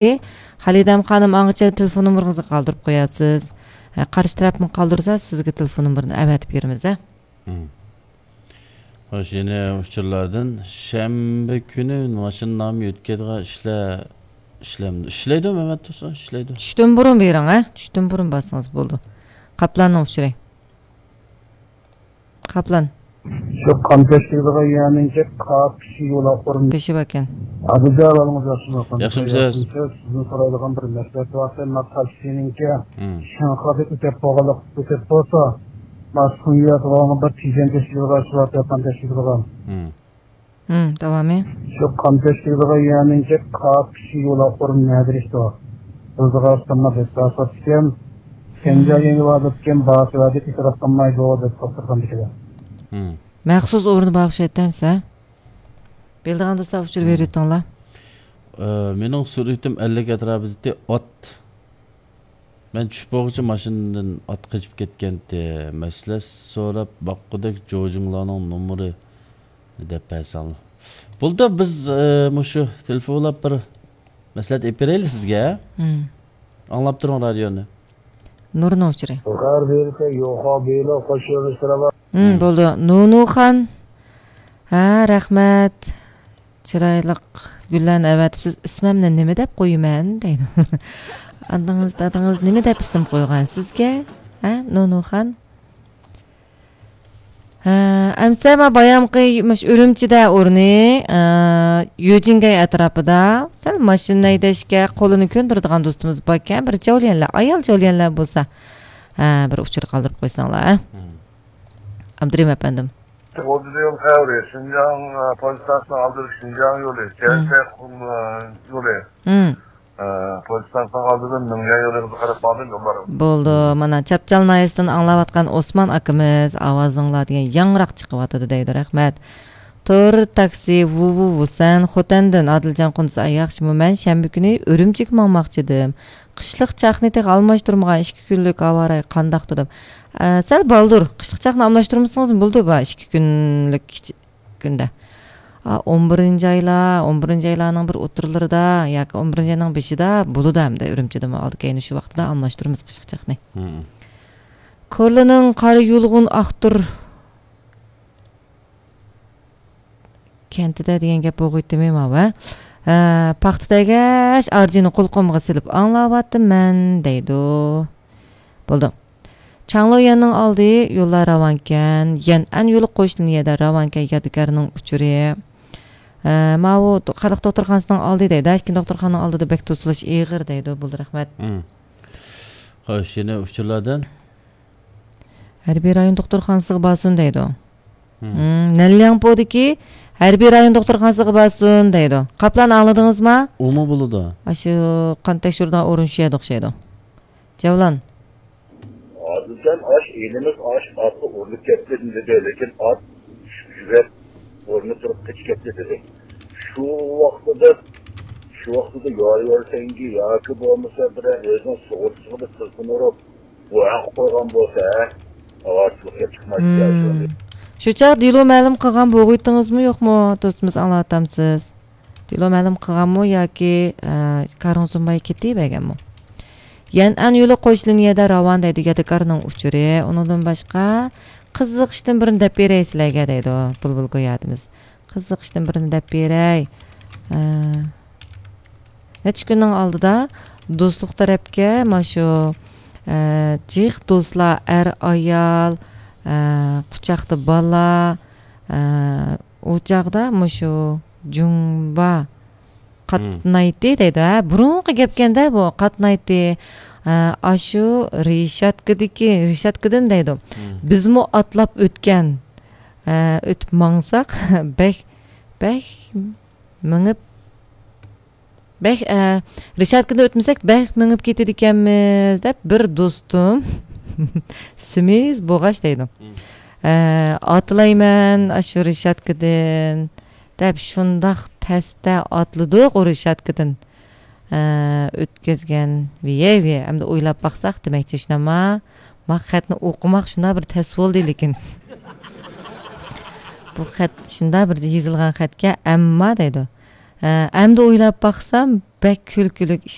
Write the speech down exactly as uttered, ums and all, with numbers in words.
خالىدەم خانىم، ئاڭغىچە تېلېفون نومۇرىڭىزنى قالدۇرۇپ قويارسىز. ھە، قارشى تەرەپمۇ قالدۇرسا، سىزگە تېلېفون نومۇرىنى ئەۋەتىپ بېرىمىز، ھە. مم. خوش، يەنە ئۇچۇرلاردىن. شەنبە كۈنى ماشىنا نامى يۆتكەيدىغان ئىشلە-، ئىشلەمدۇ-، ئىشلەيدۇ، مەمەت تۇرسۇن، ئىشلەيدۇ. چۈشتىن بۇرۇن بېرىڭ، ھە؟ چۈشتىن بۇرۇن بارسىڭىز بولدى. قاپلاننىڭ ئۇچۇرى. قاپلان. شۇ قان تەشكىلىدىغان يەرنىڭكى قاپىشى يولاق ئورنى. بېشى باركەن. ئابىجان ئالىڭىز ياخشىمۇ؟ ياخشىمۇسىز؟ سىزدىن سورايدىغان بىر مەسىلە بار. مەن تاكسىنىڭكى مم. شىنخادىن ئۆتۈپ بولغانلىق، ئۆتۈپ بولسا، ماس سۇنيا بولغان بىر تىجەن تەشكىلىدىغان شۇ تەلەپتىن تەشكىلىدىغان. مم. مم، داۋامى. شۇ قان تەشكىلىدىغان يەرنىڭكى قاپىشى يولاق ئورنى نەدە ئىشتۇ؟ بىزغا سىمما بەك تاساتكەن. سەنجا يەنگە ۋادىكەن، باسىۋادى ئېتىراپ قىلمايدۇ، دەپ توختىغاندىكىدە. مم. مەخسۇس ئورنى بار ئوخشايتتى ئەمسە. بىلىدىغان دوستلار ئۇچۇر مم. بېرىۋېتىڭلار. ئە، مېنىڭ سۈرئىتىم ئەللىك ئەتراپىدا ئات. مەن چۈشۈپ بولغۇچە ماشىنىدىن ئات قېچىپ كەتكەنتى. مەسلىھەت سوراپ باققۇدەك جوجىڭلارنىڭ نومۇرى دەپ بەرسەڭلار. بولدى، بىز، ئە، مۇشۇ تېلېفونلاپ بىر مەسلىھەت ئېلىپ بېرەيلى سىزگە. مم. ئاڭلاپ تۇرۇڭ رادىيونى. نۇرنىڭ ئۇچۇرى. مم، بولدى. نۇنۇخان. ھە، رەھمەت. چىرايلىق گۈللەرنى ئەۋەتىپسىز. ئىسمىمنى نېمە دەپ قويىمەن؟ دەيدۇ. ئانىڭىز، دادىڭىز نېمە دەپ ئىسىم قويغان سىزگە؟ ھە، نۇنۇخان؟ ھە، ئەمسە ما بايامقى مۇش ئۈرۈمچىدە ئورنى، ئە، يۆجىنگەي ئەتراپىدا سەل ماشىنا ھەيدەشكە قولىنى كۆندۈرىدىغان دوستىمىز باركەن، بىر جاۋلىيەنلەر، ئايال جاۋلىيەنلەر بولسا، ھە، بىر ئۇچۇر قالدۇرۇپ قويساڭلار، ھە؟ مم. ئابدۇرېھىم ئەپەندىم. ئوتتۇز يىل خەۋىرى، شىنجاڭ، ئە، پوزىتسىيەسىنىڭ ئالدىدا شىنجاڭ يولى، مم. جەنتەي قۇم، ئە، يولى. مم. ئە، پوزىتسىيەنىڭ ئالدىدىن مىڭيەن يولىغا قاراپ ماڭدىم، يوللار. بولدى، مانا چاپچال ناھىيەسىدىن ئاڭلاۋاتقان ئوسمان ئاكىمىز، ئاۋازىڭلار دېگەن ياڭراق چىقىۋاتىدۇ دەيدۇ، رەھمەت. تور تاكسى، ۋۇ ۋۇ ۋۇسەن، خوتەندىن ئادىلجان قۇندىز، ئاي ياخشىمۇ؟ مەن شەنبە كۈنى ئۈرۈمچىگە ماڭماقچىدىم. قىشلىق چاقنى تېخى ئالماشتۇرمىغان، ئىككى كۈنلۈك ھاۋا رايى قانداقتۇ دەپ. ئە، سەل بالدۇر، قىشلىق چاقنى ئالماشتۇرمىسىڭىز بولىدۇ، بۇ ئىككى كۈنلۈك كىچىك كۈندە. ئا، ئون بىرىنچى ئايلار، ئون بىرىنچى ئايلارنىڭ بىر ئوتتۇرىلىرىدا ياكى ئون بىرىنچى ئاينىڭ بېشىدا بولىدۇ ئەمدى ئۈرۈمچىدىمۇ ئالدى كەينى شۇ ۋاقتىدا ئالماشتۇرىمىز قىشلىق چاقنى. مم. كورلىنىڭ قارا يۇلغۇن ئاختۇر كەنتىدە دېگەن گەپ بولغۇيتتىمۇ ماۋۇ، ھە؟ ئە، پاختا تەگەش ئارجىنى قۇلىقىمغا سېلىپ ئاڭلاۋاتىمەن دەيدۇ. بولدى. چاڭلۇيەننىڭ ئالدى يوللار راۋانكەن، يەنئەن يولى قوش لىنىيەدە راۋانكەن يادىكارنىڭ ئۇچۇرى. ئە، ماۋۇ خەلق دوختۇرخانىسىنىڭ ئالدى دەيدۇ، ئىككى دوختۇرخانىنىڭ ئالدىدا بەك توسۇلۇش ئېغىر دەيدۇ. بولدى، رەھمەت. مم. خوش، يەنە ئۇچۇرلاردىن. ھەربىي رايون دوختۇرخانىسىغا بارسۇن دەيدۇ. مم. مم، نەنلياڭپۇدىكى ھەربىي رايون دوختۇرخانىسىغا بارسۇن دەيدۇ. قاپلان ئاڭلىدىڭىزما؟ ئۇمۇ بولىدۇ. ئاشۇ قان تەكشۈرىدىغان ئورۇن شۇ يەردە ئوخشايدۇ. جەۋلان. ئادىلجان، ئاش ئىنىمىز ئاش ئاتقا ئۇرۇلۇپ كەتتى دېدى، لېكىن ئات يۈگۈرۈپ ئورنىدىن تۇرۇپ قېچىپ كەتتى دېدى. شۇ ۋاقتىدا، شۇ ۋاقتىدا يايۋەرسەڭگى ياكى بولمىسا بىرەر ئۆزىنىڭ سۇغۇرتىسىغا بىر تېلېفون ئۇرۇپ، بۇ ھەق قويغان بولسا، ھە؟ ئاۋارىچىلىق كەپ چىقمايتتى، مم. شۇنداق. شۇ چاغ دېلو مەلۇم قىلغان بولغۇيتتىڭىزمۇ يوقمۇ، دوستىمىز، ئاڭلاۋاتامسىز؟ دېلو مەلۇم قىلغانمۇ ياكى، ئە، كارىڭ سۇنماي كېتىۋەرگەنمۇ؟ يەنئەن يولى قوش لىنىيەدە راۋان دەيدۇ، يادىكارنىڭ ئۇچۇرى. ئۇنىڭدىن باشقا، قىزىق ئىشتىن بىرنى دەپ بېرەي سىلەرگە دەيدۇ، بۇلبۇل گويادىمىز. قىزىق ئىشتىن بىرنى دەپ بېرەي. ئە، نەچچە كۈننىڭ ئالدىدا دوستلۇق تەرەپكە مانا شۇ، ئە، جىق دوستلار، ئەر، ئايال، ئە، قۇچاقتا بالا، ئە، ئۇ چاغدا مۇشۇ جۇڭبا مم. قاتنايتتى دەيدۇ. ھە، بۇرۇنقى گەپكەندە بۇ قاتنايتتى. ئە، ئاشۇ رېشاتكىدىكى، رېشاتكىدىن دەيدۇ. مم. بىزمۇ ئاتلاپ ئۆتكەن. ئە، ئۆتۈپ ماڭساق، بەك، بەك مېڭىپ، بەك، ئە، رېشاتكىدىن ئۆتمىسەك، بەك مېڭىپ كېتىدىكەنمىز، دەپ بىر دوستۇم سېمىز بوغاچ دەيدۇ. مم. ئە، ئاتلايمەن ئاشۇ رېشاتكىدىن، دەپ شۇنداق تەستە ئاتلىدۇق ئۇ رېشاتكىدىن. ئە، ئۆتكۈزگەن. ۋىيەي، ۋىيەي. ئەمدى ئويلاپ باقساق، دېمەكچى، شۇنداقما؟ ما خەتنى ئوقۇماق شۇنداق بىر تەس بولدى، لېكىن. بۇ خەت شۇنداق بىر يېزىلغان خەتكە، ئەمما دەيدۇ. ئە، ئەمدى ئويلاپ باقسام، بەك كۈلكىلىك ئىش